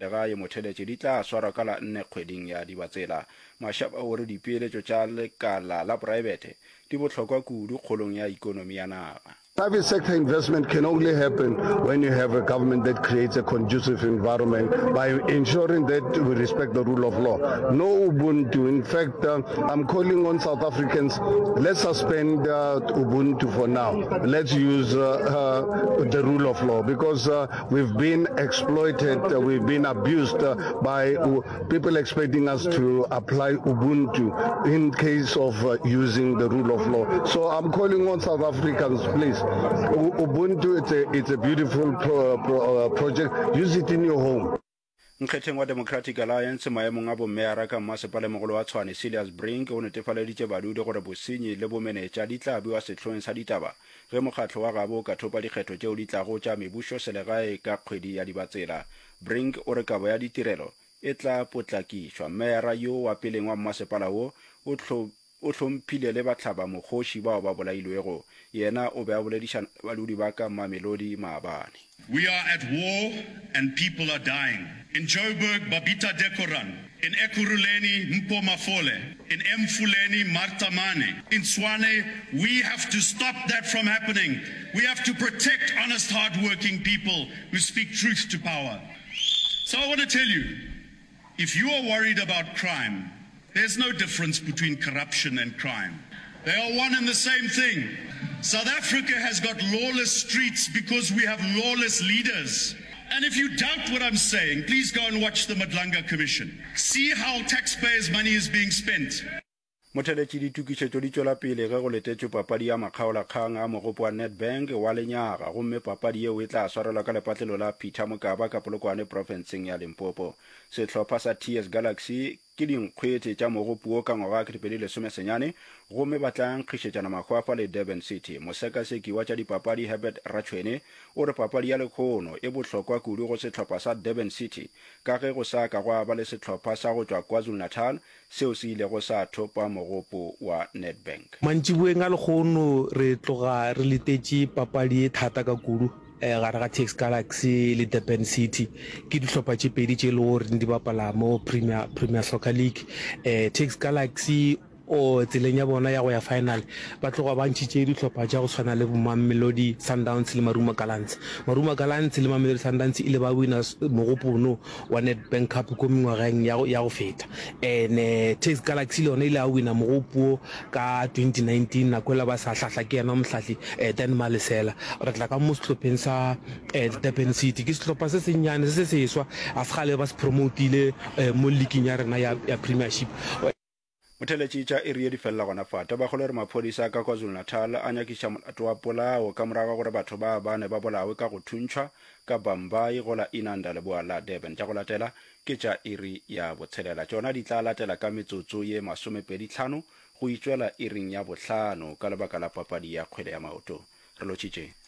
Legae Motheletše di tla swarwa ka la nne kgweding ya Dibatsela. Mashaba o re dipeeletšo tša lekala la poraebete di bohlokwa kudu kgolong ya ikonomi ya naga. Private sector investment can only happen when you have a government that creates a conducive environment by ensuring that we respect the rule of law. No Ubuntu. In fact, uh, I'm calling on South Africans, let's suspend uh, Ubuntu for now. Let's use uh, uh, the rule of law because uh, we've been exploited, uh, we've been abused uh, by people expecting us to apply Ubuntu in case of uh, using the rule of law. So I'm calling on South Africans, please. Ubuntu, it's a, it's a beautiful pro, pro, uh, project. Use it in your home. Nkgetheng wa Democratic Alliance maemong a bommeyara ka mmasepalemogolo wa Tshwane Cilliers Brink o netefaleditše badudi gore bosenyi le bomenetša di tla bewa sehloeng sa ditaba ge mokgatlo wa gabo o ka thopa dikgetho tšeo di tlago tša mebušoselegae ka kgwedi ya Dibatsela. Brink o re kabo ya ditirelo e tla potlakišwa. Mmeyara yo wa peleng wa mmasepala wo o O hlomphile le bahlabamokgoši bao ba bolailwego. Yena o be a boledišana le badudi ba ka Mamelodi maabane. We are at war and people are dying. In Joburg, Babita Dekoran. In Ekurhuleni, Mpho Mafole. In Emfuleni, Martha Mane. In Tshwane, we have to stop that from happening. We have to protect honest, hardworking people who speak truth to power. So I want to tell you, if you are worried about crime, there's no difference between corruption and crime. They are one and the same thing. South Africa has got lawless streets because we have lawless leaders. And if you doubt what I'm saying, please go and watch the Madlanga Commission. See how taxpayers' money is being spent. Motheletši Ditokišetšo di tšwela pele ge go letetšwe papadi ya makgaolakgang a mogopo wa Nedbank wa lenyaga gomme papadi yeo e tla swarelwa ka lepatlelo la Peter Mokaba ka Polokwane profenseng ya Limpopo. Sehlopha sa TS Galaxy ke dinkgwete tša mogopo wo ka ngwaga wa 2019 gomme ba tla nkgišetšana mahwafa le Durban City. Mosekaseki wa tša dipapadi Herbert Ratšhwene o re papadi ya lekhono e bohlokwa kudu go sehlopha sa Durban City ka ge go sa ka gwa ba le sehlopha sa go tšwa KwaZulu-Natal seo se ilego sa thopa mogopo wa Nedbank. Mantšiboeng a lekgono re tloga re letetše papadi e thata ka kudu gare ga TS Galaxy le Durban City. Ke dihlopha tše pedi tše e lego gore di bapala mo Premier, Premier Soccer League. TS Galaxy o tseleng ya bona ya go ya final ba tloga ba ntšhitše dihlopha tša go tshwana le bo Mamelodi Sundowns le Marumo Gallants. Marumo Gallants le Mamelodi Sundowns ile ba wina mogopo wa Nedbank Cup ko mengwageng ya go, ya go feta. Ene TS Galaxy le yona ile ya wina mogopo wo ka 2019 nako ela ba sa hlahla ke yena mohlahli eh, Dan Malesela. Re tla ka mo sehlopheng sa eh, Durban City. Ke sehlopha se sennyane se se seswa, ga se kgale ba se promotile eh, mo leaking ya rena ya, ya Premiership. Motheletši tša iri ye di felela gona fa. Tabakgolo e re maphodisa a ka KwaZulu-Natal a nyakiša molato wa polao ka morago ga gore batho ba bane ba bolawe ka go thuntšhwa ka Bhambayi go la Inanda leboa la Durban. Tša go latela ke tša iri ya botshelela. Tšona di tla latela ka metsotso ye masomepedi tlhano go itšwela iring ya bohlano ka lebaka la papadi ya kgwele ya maoto. Re lotšhitše.